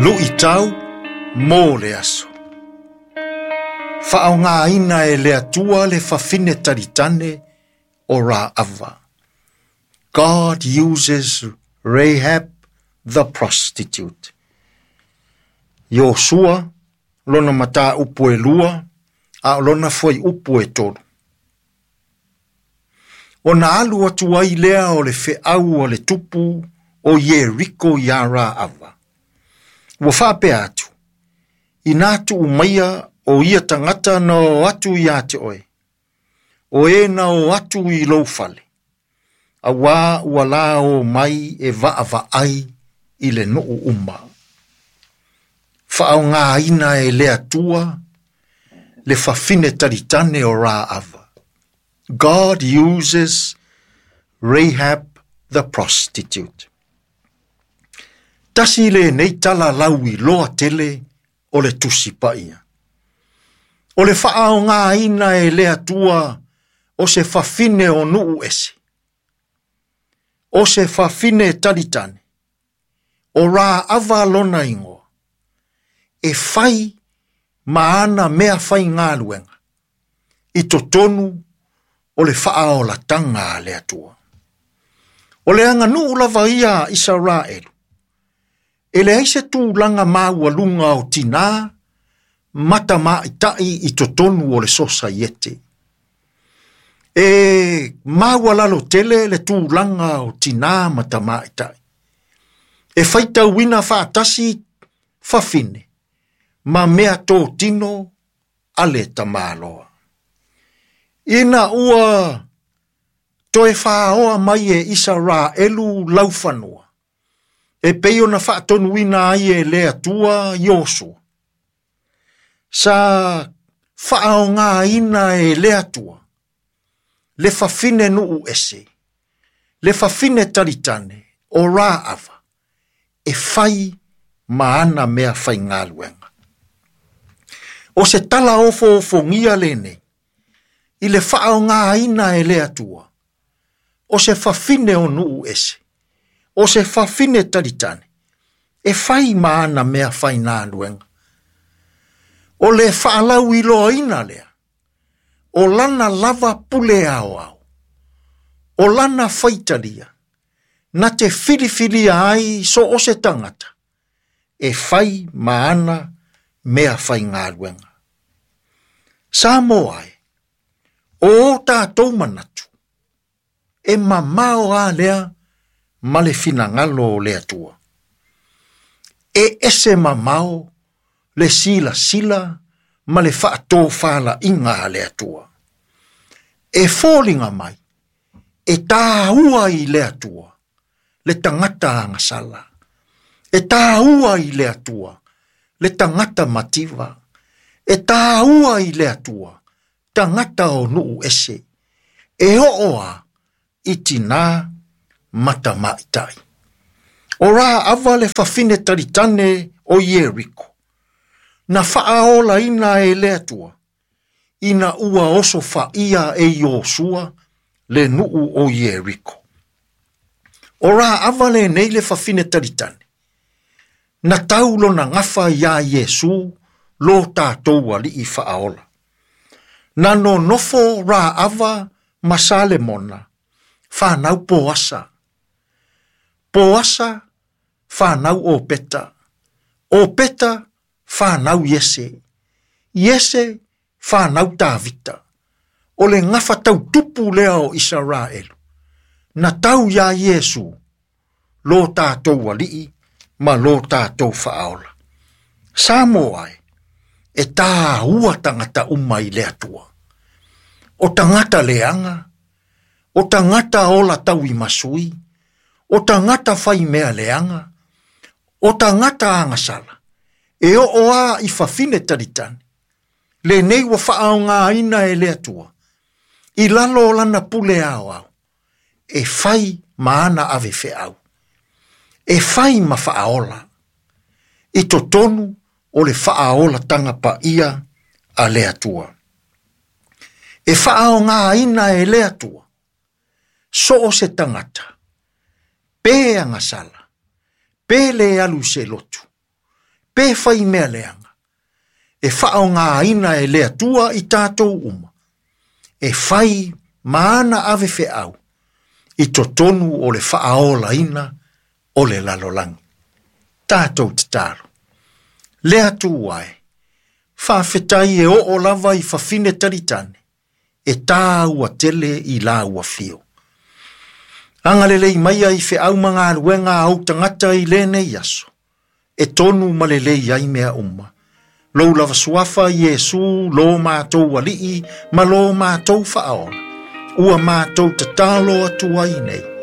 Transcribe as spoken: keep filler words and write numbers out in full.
Luʻitau mo le aso. Faaaogāina e le Atua le fafine talitane o Raava. God uses Rahab the prostitute. Iosua lona mataupu e lua a o lona fuaiupu e tolu. Ona alu atu ai lea o le feau a le tupu o Ieriko iā Raava. Ua faapea atu, inā tuu maia o ia tagata na o atu iā te oe, o e na o atu i lou fale, auā ua la o mai e vaavaai i le nuu uma. Faaaogāina e le Atua le fafine talitane o Raava. God uses Rahab the prostitute. Tasi lenei tala lauiloa tele o le Tusi Paia. O le faaaogāina e le Atua o se fafine o nuu ese. O se fafine talitane. O Raava lona igoa. E fai ma ana mea faigaluega. I totonu o le faaolataga a le Atua. O le aganuu lava ia a Isaraelu. E leai se tulaga maualuga o tinā ma tamaitai i totonu o le sosaiete. E maualalo tele le tulaga o tinā ma tamaitai. E faitauina faatasi fafine ma mea totino a le tamaloa. Ina ua toe faaoa mai e Isaraelu laufanua, e pei ona faatonuina ai e le Atua Iosua. Sa faaaogāina e le Atua le fafine nuu ese, le fafine talitane o Raava, e fai ma ana mea faigaluega. O se tala ofoofogia lenei, i le faaaogāina e le Atua, o se fafine o nuu ese, o se fafine talitane, e fai ma ana mea faigaluega. O le faalauiloaina lea, o lana lava pule aoao, o lana faitalia, na te filifilia ai so o se tagata, e fai ma ana mea faigaluega. Samoa e, o o tatou manatu, e mamao a lea ma le finagalo o le Atua. E ese mamao le silasila ma le faatofalaiga a le Atua. E foliga mai, e tāua i le Atua, le tagata agasala. E tāua i le Atua, le tagata mativa. E tāua i le Atua, tagata o nuu ese. E oo a i tinā ma tamaitai. O Raava le fafine talitane o Ieriko. Na faaolaina e le Atua, ina ua oso faia e Iosua le nuu o Ieriko. O Raava lenei le fafine talitane. Na tau lona gafa iā Iesu lo tatou alii faaola. Na nonofo Raava ma Salemona, whanau Poasa. Poasa, whanau Opeta. Opeta, whanau Iese. Iese, whanau Tavita. O le gafa tautupu lea o Isaraelu. Na tau iā Iesu, lo tatou alii ma lo tatou faaola. Samoa e, e tāua tagata uma i le Atua. O tagata leaga, o tagata ola tauimasui, o tagata faimea leaga, o tagata agasala, e oo a i fafine talitane, lenei ua faaaogāina e le Atua, i lalo o lana pule aoao, e fai ma ana ave feau, e fai ma faaola, i totonu o le faaolatanga paia a le Atua. E faaaogāina e le Atua, so o se tagata, pe agasala, pe le alu se lotu, Pe fai mea leaga, e faaaogāina e le Atua i tatou uma, e fai ma ana ave feau, i totonu o le faaolaina o le lalolagi. Tatou tatalo. Le Atua e, faafetai e oo lava i fafine talitane, e tāua tele i lau afio. Agalelei maia i feau ma galuega a ou tagata i lenei aso, e tonu ma lelei ai mea uma. Lou lava suafa Iesu, lo mātou alii, ma lo mātou faaola. Ua mātou tatalo atu ai nei.